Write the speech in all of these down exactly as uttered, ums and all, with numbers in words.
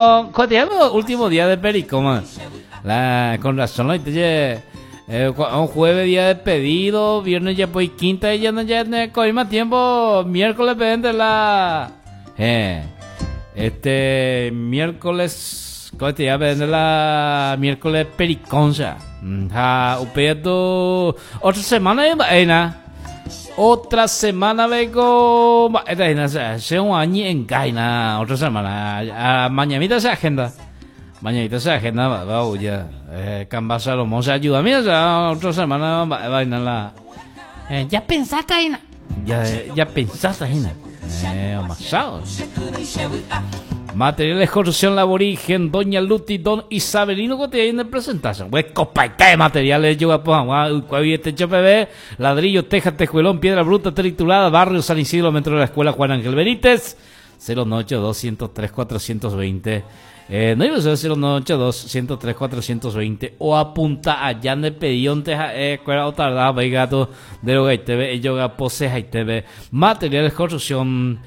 Cotidiano último día de Pericoma. La, con razón, no eh, un jueves día de pedido, viernes ya pues quinta y ya no ya no más tiempo, miércoles de la eh, este miércoles cotidiano de la miércoles Periconcha. Ja, upeto otra semana eh, na. Otra semana vengo, se un año en Gaina, otra semana. Mañanita se agenda. Mañanita se agenda, va, va, ya. Eh, Camba Salomón se ayuda. Mira, ya, otra semana va, va, la. Eh, ya pensaste, Aina. Ya, ya pensaste, Aina. Eh, amasado. Materiales construcción laborigen, Doña Luti, Don Isabelino, que te de presentación. Pues copaita de materiales, yo este P B, ladrillo, teja, tejuelón, piedra bruta, triturada, barrio San Isidro, metro de la escuela Juan Ángel Benítez, cero noventa y dos ciento tres cuatrocientos veinte. Eh, no iba a ser cero noventa y dos ciento tres cuatrocientos veinte o apunta allá de pedionte eh, cuera o tardaba gato de lo T V yoga pose T V materiales construcción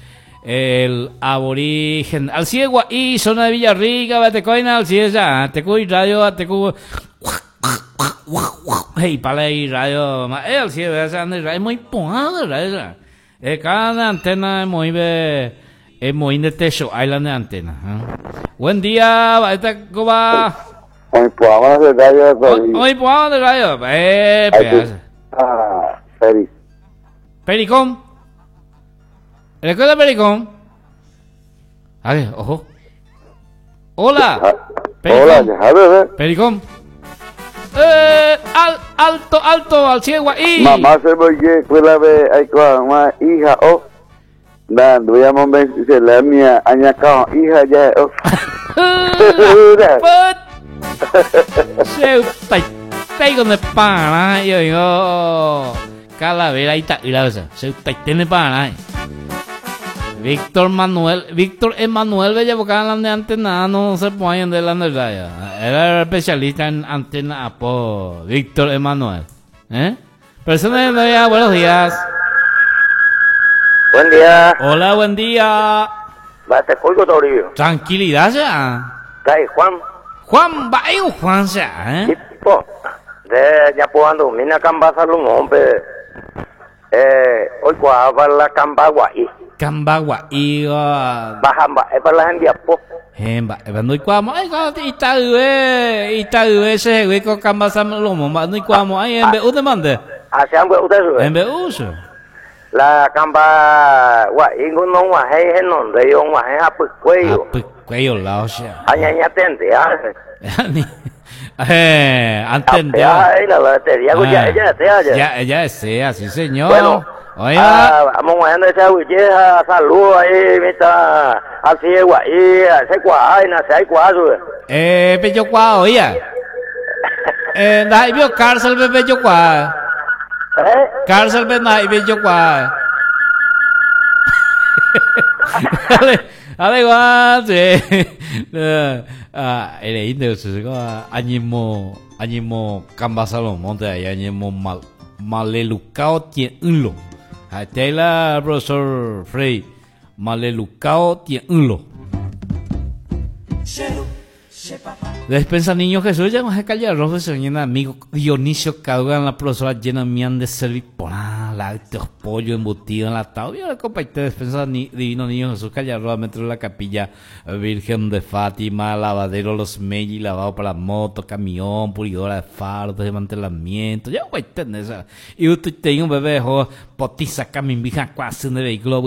el aborigen al ciegua y zona de Villarrica batecoina al ciega tecu radio tecu hey para y radio eh al ciego es muy pujado radio eh cada antena muy es muy de techo hay la de antena, ¿eh? Buen día, esta cómo va. Hoy podamos de radio. Hoy podamos de radio, eh. Ah, Peri. Pericón. ¿Recuerda Pericón? A ver, ojo. Hola. Pericón. Hola. Pericón. Eh, al, alto, alto, al ciego y. Mamá se voy que la ve ay con hija o. Dan, voy a mover se la mía añacao hija ya o. Se tai con de para yo digo calavera y ta se tiene para. Víctor Manuel, Víctor Emanuel Bella de antena no se pone de la verdad. Era especialista en antena Apo, Víctor Emanuel. ¿Eh? Persona de día, buenos días. Buen día. Hola, buen día. Bate Toribio. Tranquilidad ya. Kai Juan. Juan, va, Juan ya, ¿eh? Tipo, de ya puedo mina camba Salomón, pe. Eh, hoy cuava la camba guay. Kamba guay. Baja es para la gente apo. Hemba, no ikuamo ay ita ita ese güey con kamba Salomón, no ikuamo ay en B U de mande. Hacia un usted. En B U. La kamba guay no guay no de yo guay a pues cuello. Pues cuello la o sea. Aña tende. Eh, antes de la batería, ya ya ya ya ya sea, sí señor. Bueno, oiga, vamos a esa huilleja, saludos ahí, mita, así es guay, ese guay, na se hay cuatro. Eh, pello cuá, oiga. Eh, na vio cárcel be pello cuá. ¿Eh? Cárcel be na pello cuá. Dale, dale igual, sí. Ah, ele indio se añimo añimo Camba Salomón de ahí añimo mal malelucao tienlo. Ahí profesor Frey malelucao tienlo. Despensa Niño Jesús, ya más calle arroz de señor amigo Dionisio Caugan, la profesora llena mian de servir por lácteos, pollo embutido enlatado. Y la copa y despensa ni, Divino Niño Jesús, calle arroz, metro de la capilla Virgen de Fátima, lavadero Los Melli, lavado para moto, camión, pulidora de faros, desmantelamiento. Ya voy a tener esa. Y usted tiene un bebé, jo, potiza, camimbija, cuasi de vehículo,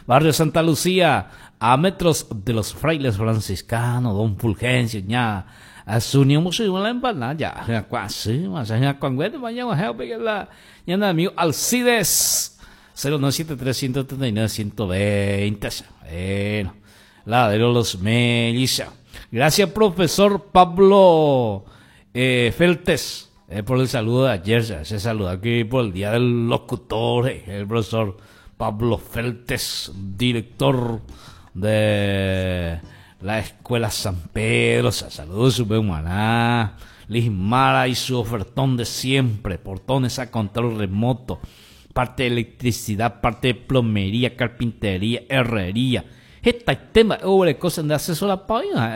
Barrio Santa Lucía, a metros de los frailes franciscanos, don Fulgencio, ya. Asunia musu la empanada ya, cuasi, más allá con mañana la ya amigo Alcides cero nueve siete tres ciento treinta y nueve ciento veinte. Bueno, la de los Melissa. Gracias, profesor Pablo eh, Feltes, eh, por el saludo de ayer. Se saluda aquí por el Día del Locutor, eh, el profesor Pablo Feltes, director de la Escuela San Pedro. Saludos, su maná. Lismara y su ofertón de siempre, portones a control remoto, parte de electricidad, parte de plomería, carpintería, herrería. Hetaite mba'e oguereko nde asesorapa oĩva.